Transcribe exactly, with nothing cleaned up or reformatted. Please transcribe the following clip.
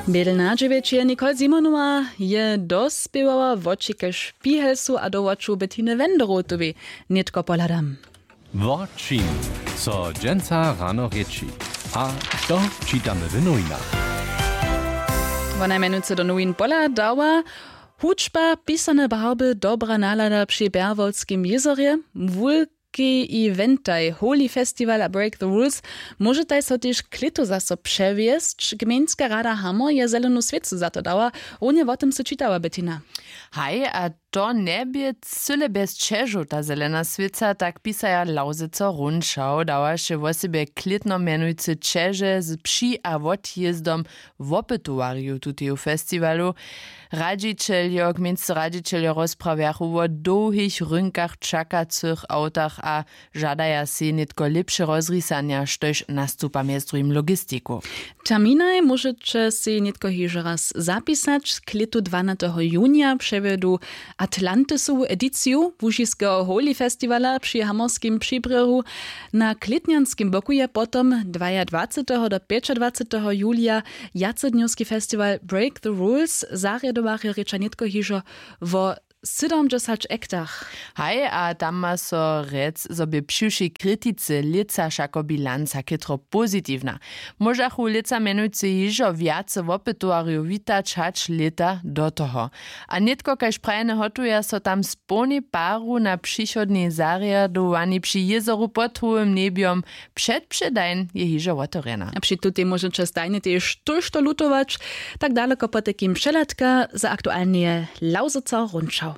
Bědelna dźewjećeje nicole simonowa je dospěwała woči k špihelsu a do woču bettiny wenderotowej. Nětko pohladam. Wo čim so dźensa rano rěči a što čitamy w nowinach? Wona mjenujcy do nowin pola dała: hudźba, pisane barby, dobra nalada při bjerwolskim jězorje, wulkej eventaj holy festival a break the rules. Móžetaj so tež klětu zaso přewjesć. Gmejnska rada hammer je zelenu swěcu za to dała. Runje wo tym sy čitała, bettina. Haj, a to njebě cyle bjez ćežow ta zelena swěca, tak pisaja lawzeco runčał. Dawaše wosebje klětno mjenujcy ćeže z při a wotjězdom wopytowarjow tuteju festiwalu. Radźićeljo gmejnscy radźićeljo rozprawjachu wo dołhich rynkach čakacych awtach a žadaja sej nětko lěpše rozrisanja štož nastupa mjez druhim logistiku. Terminaj móžeće sej nětko hižo raz zapisać. Klětu dwanateho junija přewjedu atlantisowu ediciju łužiskeho holy festiwala při hamorskim přibrěhu. Na klětnjanskim boku je potom dwajadwaceteho do pjećadwaceteho julija wjacednjowski festiwal break the rules. Zarjadowarjo rěča nětko hižo wo sydomdźesać ektach. Haj, a tam ma so rjec zo bě přiwšej kritice lětsa wšako bilanca chětro pozitiwna. Móžachu lětsa mjenujcy hižo wjace wopytowarjow witać hač lěta do toho. A nětko kaž prajene hotuja so tam z połnej paru na přichodnej zarjadowani při jězoru pod howym njebjom. Předpředajn je hižo wotewrjena. A při tutej móžeće stajnje tež tójšto lutować. Tak daloko potajkim přehladka za aktualneje lawzyco runčał.